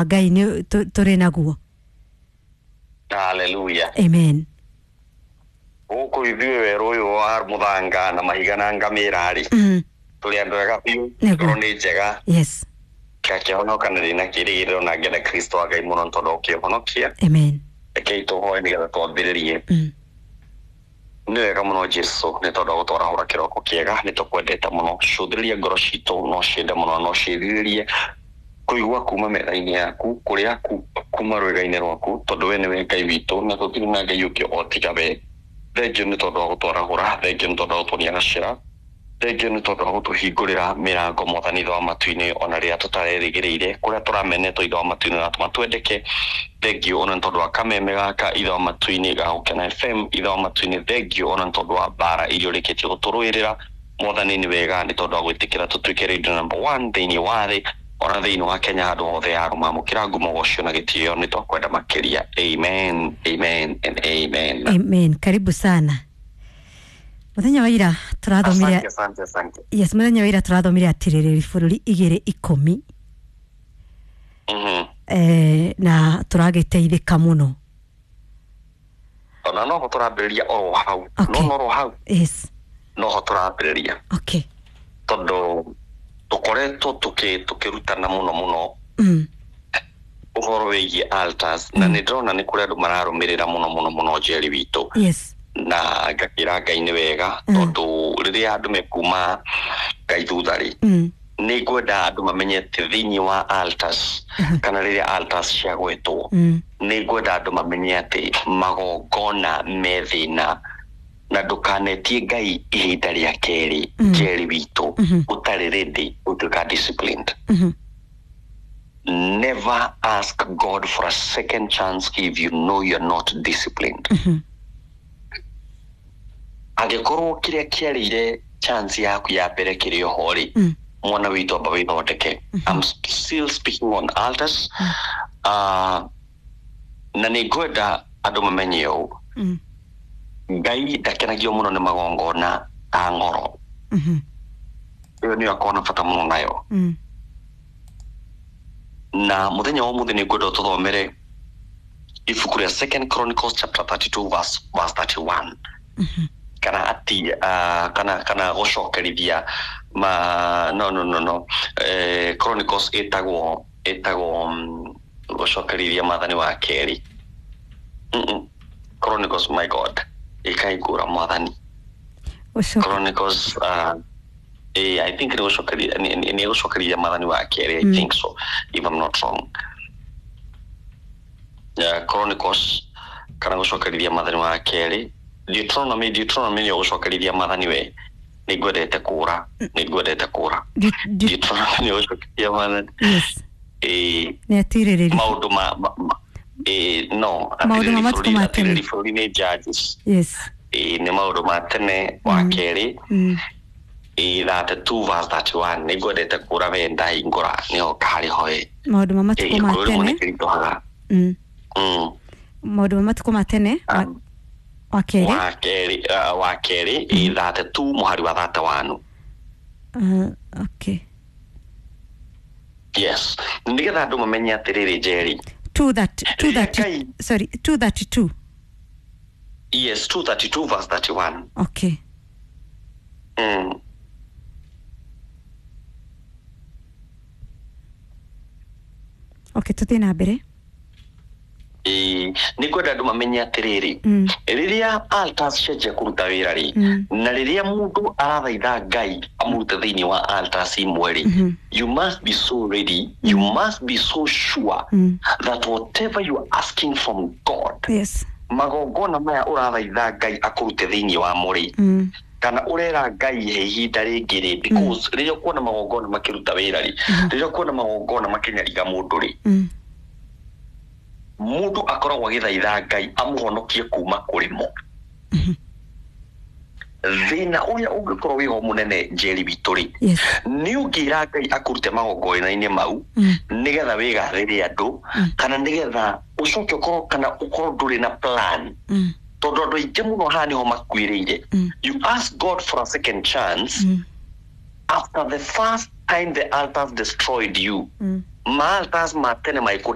Ngai nĩ tũrĩ naguo. Haleluya. Amen. Gũkũ ithuĩ werũ ũyũ wa mũthanga na mahiga na ngamĩra rĩ, tũrĩ andũ ega biũ. Nĩguo. Ngoro nĩ njega. Ngakĩhonoka na ndĩna kĩĩrĩgĩrĩro na ngenda Kristo wa Ngai mũno tondũ ũkĩhonokia. Amen. Rekei tũhoe nĩgetha twambĩrĩrie. Nĩ wega mũno Jesu nĩ tondũ wa gũtwarahũra kĩroko kĩega, nĩ tũkwendete mũno. Cũthĩrĩria ngoro citũ, no ciende mũno, no ciĩrirĩrie kũigua kuma metha-inĩ yaku, kũrĩa kuma rwĩga-inĩ rwaku, tondũ we nĩwe Ngai witũ na tũtirĩ na Ngai ũngĩ o tiga we. Thengiũ nĩ tondũ wa gũtwarahũra, thengiũ nĩ tondũ wa gũtuonia gacĩra, thengiũ nĩ tondũ wa gũtũhingũrĩra mĩrango Mwathani ithe wa matu-inĩ ona rĩrĩa tũtarerĩgĩrĩire, kũrĩa tũramenetwo ithe wa matu-inĩ ũratũma twendeke. Thengiũ ona nĩ tondũ wa kameme gaka ithe wa matu-inĩ ga Gũkena FM ithe wa matu-inĩ. Thengiũ ona nĩ tondũ wa mbara iria ũrĩkĩtie gũtũrũĩrĩra Mwathani. Nĩ wega nĩ tondũ wa gwĩtĩkĩra tũtuĩke radio number one thĩinĩ wa thĩ ona thĩinĩ wa Kenya handũ hothe ya mamũkĩra ngumo gocio na gĩtĩo nĩ twakwenda makĩria. Amen, amen and amen. Amen. Karibu sana. Muthenya wa ira tũrathomire. Asante, asante, asante. Yes, muthenya wa ira tũrathomire atirĩrĩri bũrũri 2:10. Na tũragĩteithĩka mũno. Ona noho tũrambĩrĩria oro hau. Okay. No oro hau. Noho tũrambĩrĩria. Tondũ tũkoretwo tũkĩrutana mũno mũno ũhoro wĩgiĩ altars, na nĩ ndĩrona nĩ kũrĩ andũ mararũmĩrĩra mũno mũno mũno Njeri witũ. Na ngakĩra Ngai nĩ wega, tondũ rĩrĩa andũ mekuma Ngai thutha rĩ, nĩ ngwenda andũ mamenye atĩ thĩinĩ wa altars, kana rĩrĩa altars ciagwetwo, nĩ ngwenda andũ mamenye atĩ magongona me thĩna, na ndũkanetie Ngai ihinda rĩa kerĩ. Njeri witũ, ũtarĩ ready gũtuĩka disciplined. Never ask God for a second chance if you know you're not disciplined. Angĩkorwo kĩrĩa kĩarĩire chance yaku ya mbere kĩrĩ oho rĩ, mwana witũ, amba wĩthondeke. I'm still speaking on altars. Na nĩ ngwenda andũ mamenye ũũ: Ngai ndakenagio mũno nĩ magongona ta ng'oro. Ĩyo nĩyo akorwo na bata mũno nayo. Na mũthenya wa ũmũthĩ nĩ ngwenda ũtũthomere ibuku rĩa Second Chronicles chapter 32 verse 31, kana ati kana gũcokerithia ma no no no no Chronicles ĩtagwo gũcokerithia maathani wa kerĩ. Chronicles, my God, ĩkaingũra Mwathani. Ũcoke. Chronicles, I think nĩ gũcokeria nĩ gũcokerithia maathani wa kerĩ. I think so, if I'm not wrong. Yeah, Chronicles kana gũcokerithia maathani wa kerĩ. Deuteronomy nĩyo gũcokerithia maathani. We nĩ ngwendete kũra, nĩ ngwendete kũra. Deuteronomy nĩyo gũcokerithia maathani. Nĩ atirĩrĩri. Maũndũ ma no. Maũndũ ma matukũ ma tene. Atirĩrĩ bũrũri nĩ Judges. Nĩ maũndũ ma tene wa kerĩ, 32 verse 31. Nĩ ngwendete kũra, we ndahingũra nĩho karĩ hoe. Maũndũ ma matukũ ma Gĩkũyũ rĩmwe tene. nĩ kĩritũhaga. Maũndũ ma matukũ ma tene wa kerĩ. Wa kerĩ, 32 mũhari wa 31. Okay. Yes, nĩgetha andũ mamenye atĩrĩrĩ, Njeri, 2 that 230. Ngai. Sorry, 232. Yes, 232 verse 31. Okay. Okay, tuthiĩ na mbere. Ĩĩ, nĩ ngwenda andũ mamenye atĩrĩrĩ, rĩrĩa altars cianjia kũruta wĩra rĩ, na rĩrĩa mũndũ arathaitha Ngai amũrute thĩinĩ wa altars imwe rĩ, you must be so ready, you must be so sure that whatever you are asking from God, magongona maya ũrathaitha Ngai akũrute thĩinĩ wamo rĩ, kana ũrera Ngai he ihinda rĩngĩ rĩ, because rĩrĩa ũkuona magongona makĩruta wĩra rĩ, rĩrĩa ũkuona magongona makĩnyariga mũndũ rĩ, mũndũ akoragwo agĩthaitha Ngai amũhonokie kuma kũrĩ mo. Thĩna ũrĩa ũngĩkorwo wĩho mũnene, Njeri witũ rĩ, nĩ ũngĩra Ngai akũrute magongona-inĩ mau nĩgetha wĩgathĩre andũ, kana nĩgetha ũcoke ũkorwo kana ũkorwo ndũrĩ na plan, tondũ andũ aingĩ mũno haha nĩho makuĩrĩire. You ask God for a second chance after the first time the altars destroyed you. Maaltas ma tene maikũ.